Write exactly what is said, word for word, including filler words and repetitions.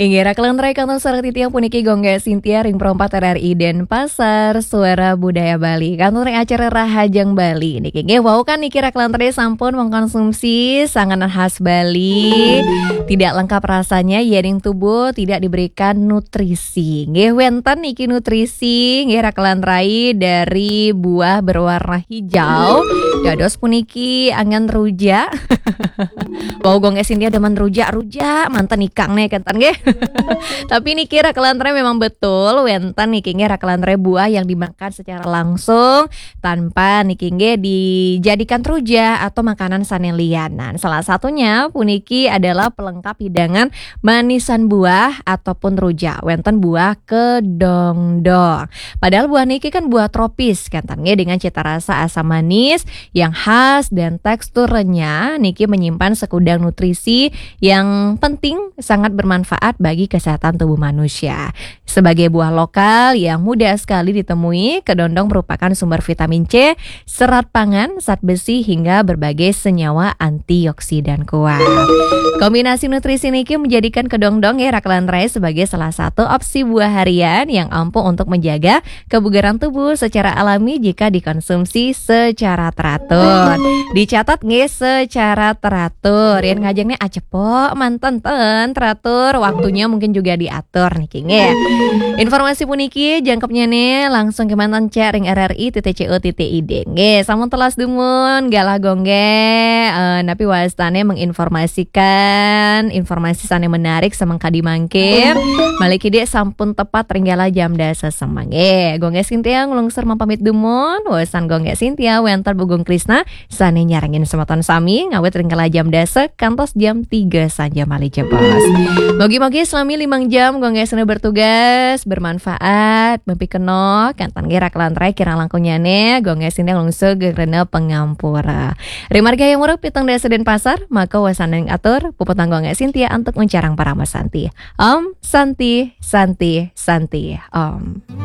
Inggih, Raka lan Rai, kantos sareng titiang puniki Gung Gé Sintia ring Pro empat R R I Denpasar, Suara Budaya Bali. Kantos ring acara Rahajeng Bali niki. Nggih, wau kan niki Raka lan Rai sampun mengkonsumsi sanganan khas Bali. Tidak lengkap rasanya yéning tubuh tidak diberikan nutrisi. Nggih, wénten niki nutrisi, nggih, Raka lan Rai, dari buah berwarna hijau. Dados puniki anggén rujak. Wau Gung Gé Sintia demen rujak, rujak, manten ikang nih, kénten nggih. Tapi niki Raka lan Rai memang betul, wénten niki nggih Raka lan Rai buah yang dimakan secara langsung tanpa niki nggih dijadikan rujak atau makanan sané lianan. Salah satunya puniki adalah pelengkap hidangan manisan buah ataupun rujak. Wénten buah kedondong. Padahal buah niki kan buah tropis, kénten nggih, dengan cita rasa asam manis yang khas dan teksturnya niki menyimpan segudang nutrisi yang penting, sangat bermanfaat bagi kesehatan tubuh manusia. Sebagai buah lokal yang mudah sekali ditemui, kedondong merupakan sumber vitamin C, serat pangan, zat besi, hingga berbagai senyawa antioksidan kuat. Kombinasi nutrisi niki menjadikan kedondong nggih Raka lan Rai sebagai salah satu opsi buah harian yang ampuh untuk menjaga kebugaran tubuh secara alami jika dikonsumsi secara teratur. Dicatat nggih, secara teratur. Yén ngajeng nih acepok, manten ten teratur, waktunya mungkin juga diatur niki nggih. Informasi puniki jangkepnya nih langsung kémanten cek ring R R I titik C O titik I D. Nggih, sampun telas dumun, galah Gung Gé, eh, napi wastané menginformasikan informasi sané menarik semeng kadi mangkin. Malih kidik sampun tepat ring galah jam dasa semeng. Nggih, Gung Gé Sintia nglungsur mapamit dumun, wawasan Gung Gé Sintia wénten Bu Gung Krisna sané nyarengin semeton sami ngawit ring galah jam dasa kantos jam tiga saja malih jebos. Mugi-mugi selami limang jam Gung Gé Sintia bertugas bermanfaat, mapikenoh, kénten nggih Raka lan Rai, kirang langkungnyané Gung Gé Sintia nglungsur geng rena pangampura. Ring margi Hayam Wuruk pitung dasa Denpasar, maka wastané atur, puputang Gung Gé Sintia antuk nguncarang parama santi. Om Santi, Santi, Santi, Om.